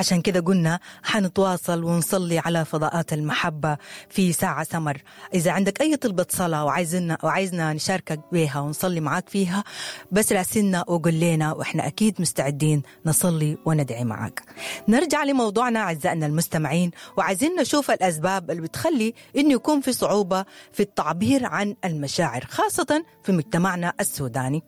عشان كده قلنا حنتواصل ونصلي على فضاءات المحبة في ساعة سمر. إذا عندك أي طلبة صلاة وعايزنا نشاركك بيها ونصلي معاك فيها، بس راسلنا وقول لنا، وإحنا أكيد مستعدين نصلي وندعي معاك. نرجع لموضوعنا أعزائنا المستمعين، وعايزين نشوف الأسباب اللي بتخلي إنه يكون في صعوبة في التعبير عن المشاعر، خاصة في مجتمعنا السوداني.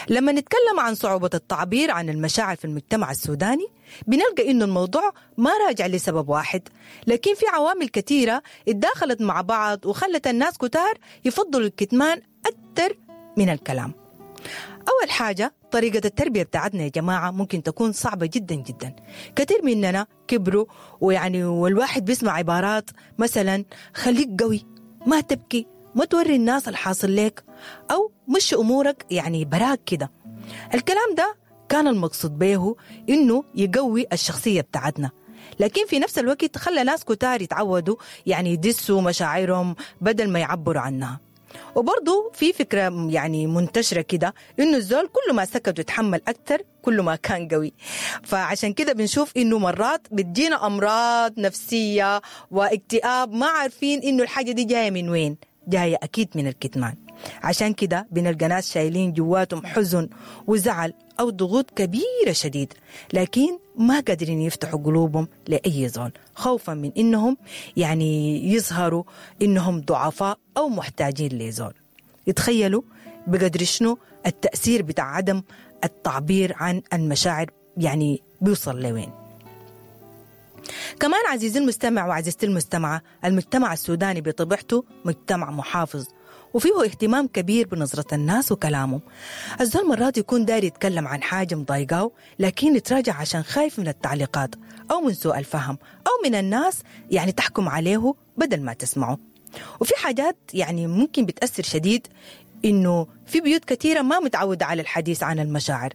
لما نتكلم عن صعوبة التعبير عن المشاعر في المجتمع السوداني، بنلقى إنه الموضوع ما راجع لسبب واحد، لكن في عوامل كثيرة اتداخلت مع بعض وخلت الناس كتار يفضلوا الكتمان أكثر من الكلام. أول حاجة، طريقة التربية بتاعتنا يا جماعة ممكن تكون صعبة جدا جدا. كثير مننا كبروا ويعني والواحد بيسمع عبارات مثلا خليك قوي، ما تبكي، ما توري الناس الحاصل لك، أو مش أمورك يعني براك كده. الكلام ده كان المقصود به إنه يقوي الشخصية بتاعتنا، لكن في نفس الوقت خلى ناس كتار يتعودوا يعني يدسوا مشاعرهم بدل ما يعبروا عنها. وبرضو في فكرة يعني منتشرة كده إنه الزول كل ما سكت وتحمل أكتر كل ما كان قوي. فعشان كده بنشوف إنه مرات بتجينا أمراض نفسية واكتئاب، ما عارفين إنه الحاجة دي جاية من وين، جاية أكيد من الكتمان. عشان كده بنلقى ناس شايلين جواتهم حزن وزعل أو ضغوط كبيرة شديد، لكن ما قادرين يفتحوا قلوبهم لأي زول، خوفا من إنهم يعني يظهروا إنهم ضعفاء أو محتاجين لزول. يتخيلوا بقدر شنو التأثير بتاع عدم التعبير عن المشاعر يعني بيوصل لوين. كمان عزيزي المستمع وعزيزتي المستمعة، المجتمع السوداني بطبيعته مجتمع محافظ وفيه اهتمام كبير بنظرة الناس وكلامهم. الزول مرات يكون داير يتكلم عن حاجة مضايقاه، لكن يتراجع عشان خايف من التعليقات أو من سوء الفهم أو من الناس يعني تحكم عليه بدل ما تسمعه. وفي حاجات يعني ممكن بتأثر شديد، إنه في بيوت كثيرة ما متعودة على الحديث عن المشاعر،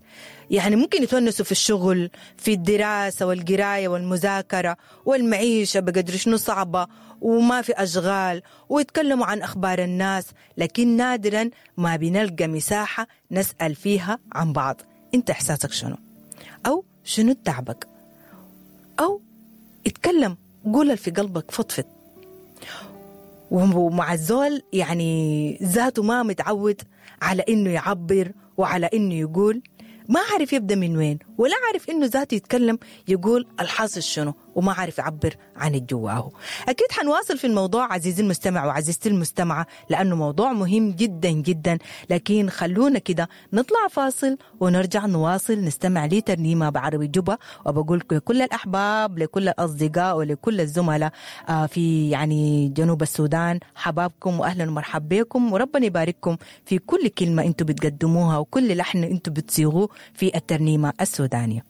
يعني ممكن يتونسوا في الشغل، في الدراسة والقراية والمذاكرة والمعيشة بقدر شنو صعبة وما في أشغال، ويتكلموا عن أخبار الناس، لكن نادرا ما بنلقى مساحة نسأل فيها عن بعض. أنت إحساسك شنو؟ أو شنو تعبك؟ أو اتكلم، قول في قلبك، فضفض. ومع الزول يعني ذاته ما متعود على إنه يعبر وعلى إنه يقول، ما عارف يبدأ من وين، ولا عارف إنه ذاته يتكلم يقول الحاصل شنو، وما عارف يعبر عن الجواه. أكيد حنواصل في الموضوع عزيزي المستمع وعزيزتي المستمعة، لأنه موضوع مهم جدا جدا، لكن خلونا كده نطلع فاصل ونرجع نواصل نستمع لترنيمة بعربي جوبا. وبقول لكل الأحباب، لكل الأصدقاء، ولكل الزملاء في يعني جنوب السودان، حبابكم وأهلا ومرحبا بكم، وربنا يبارككم في كل كلمة أنتم بتقدموها وكل لحن أنتم بتصيغوه في الترنيمة السودانية.